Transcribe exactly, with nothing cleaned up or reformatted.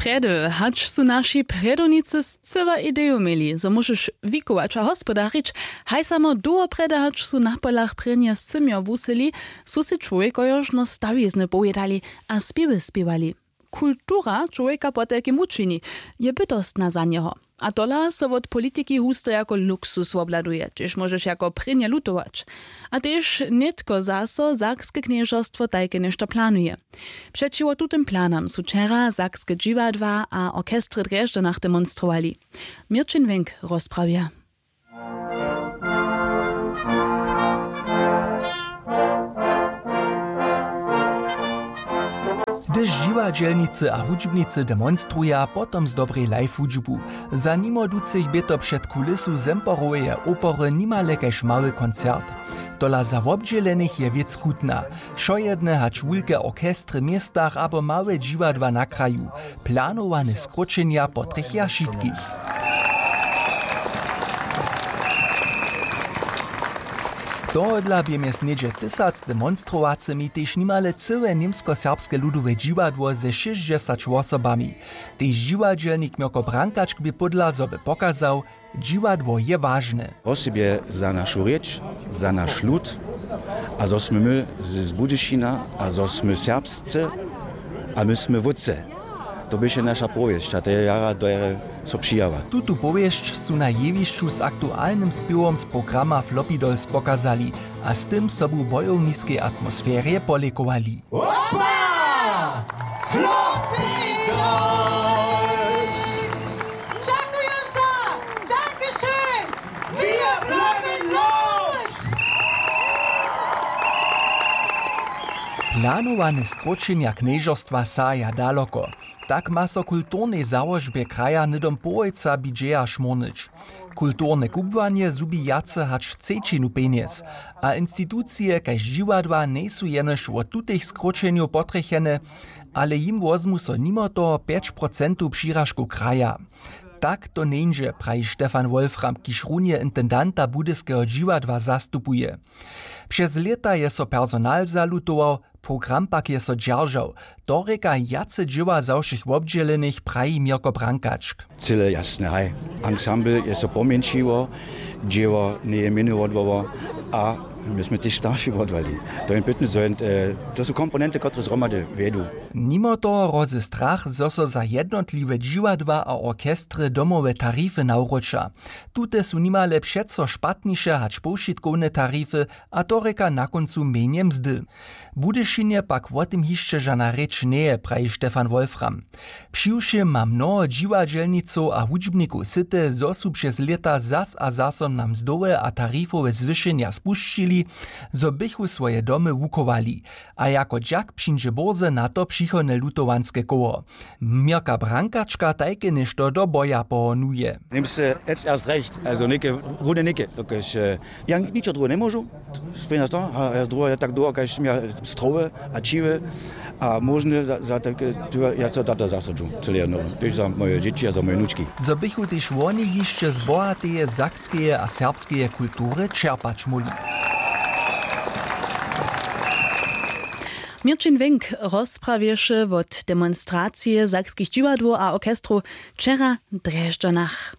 Prjedy, hač su naši prjedownicy scyła ideju měli, zo móžeš wikować a hospodarić, haj samo dołho prjedy, hač su na polach prěnje scymjo wusyli, su sej čłowjekojo žno stawizny powědali a spěwy spěwali. Kultura čłowjeka potajkim wučini, je bytostna za njeho. A tola so wot politiki husto jako luksus wobhladuje, hdźež móžeš jako prěnje lutować. A tež nětko zaso sakske knježerstwo tajke něšto planuje. Přećiwo tutym planam su wčera sakske dźiwadła a orchestry w drježdźanach demonstrowali. Měrćin Wenk rozprawja. Hdyž dźiwadźelnicy a hudźbnicy demonstruja, potom zdobrej live hudźbu. Za nimo ducych bě to před kulisu Zemporoweje opery nimale kaž mały koncert. Tola za wobdźělenych je wěc chutna. Wšojedne hač wulke orchestry w městach abo małe dźiwadła na kraju. Planowane skróćenja potrjechja wšitkich. Tohodla bě mjez něhdźe tysac demonstrowacymi tež nimale cyłe němskoserbske ludowe dźiwadło ze šěsćdźesać wosobami. Tež dźiwadźelnik Mirko Brankačk bě pódla, zo by pokazał, dźiwadło je wažne. Wosebje za našu rěč, za naš lud a zo smy my z, z Budyšina a zo smy serbsce a my smy wótře. To běše naša powěsć a to je jara dohere so přijała. Tutu powěsć su na jewišću z aktualnym spěwom z programa Floppy Dolls pokazali a z tym sobu w bojowniskej atmosferje polěkowali. Opa! Floppy Dolls! Dźakuju so! Dankeschön! Wir bleiben los! Planowane skróćenja knježerstwa sahaja daloko. Tak ma so kulturnej załožbje kraja hnydom połojca budźeja šmórnyć. Kulturne kubłanje zhubi wjace hač třećinu pjenjez. A institucije kaž dźiwadła njejsu jenož wot tutych skróćenjow potrjechene, ale jim wozmu so nimo toho pjeć procentow přiražkow kraja. Tak to njeńdźe, praji Stefan Wolfram, kiž runje intendanta Budyskeho dźiwadła zastupuje. Přez lěta je so personal zalutował, program pak je so dźeržał. To rěka wjace dźěła za wšěch wobdźělenych, praji Mirko Brankačk. Cyle jasne, haj. Ansambl je so pomjeńšiło, dźěło njeje mjenowodłowo a my smy tež starši wodłali. To je pytny, zo je, e, to su komponenty, kotrež zhromady wjedu. Nimo toho hrozy strach, zo so za jednotliwe dźiwadła a orchestry domowe tarify nawróća. Tute su nimale přeco špatniše hač powšitkowne tarify, a to rěka na kóncu mjenje mzdy. W Budyšinje pak wo tym hišće žana rěč njeje, praji Stefan Wolfram. Přiwšěm ma mnoho dźiwadźelnicow a hudźbnikow syte, zo su přez lěta zas a zaso na mzdowe a tarifowe zwyšenja spušćili, zo bychu swoje domy wuchowali. A jako dźak přińdźe bórze na to přichodne lutowanske koło. Měrka Brankačka tajke něšto do boja pohonuje. Němsce, jetzt erst recht, also něke runje něke, dokelž, e, ja ničo druhe njemóžu, spěnja to, a ja druhe, ja tak dołho, kaž směja strowy a čiwy a móžne za, za tak, e, ja co tato zasadźu, cyle jedno, tež za moje dźěći a za moje wnučki. Zo bychu tež woni hišće z bohateje sakskeje a serbskeje kultury čerpać móhli. Měrćin Wenk rozprawješe wot demonstracije sakskich dźiwadłow a orchestrow wčera w Drježdźanach.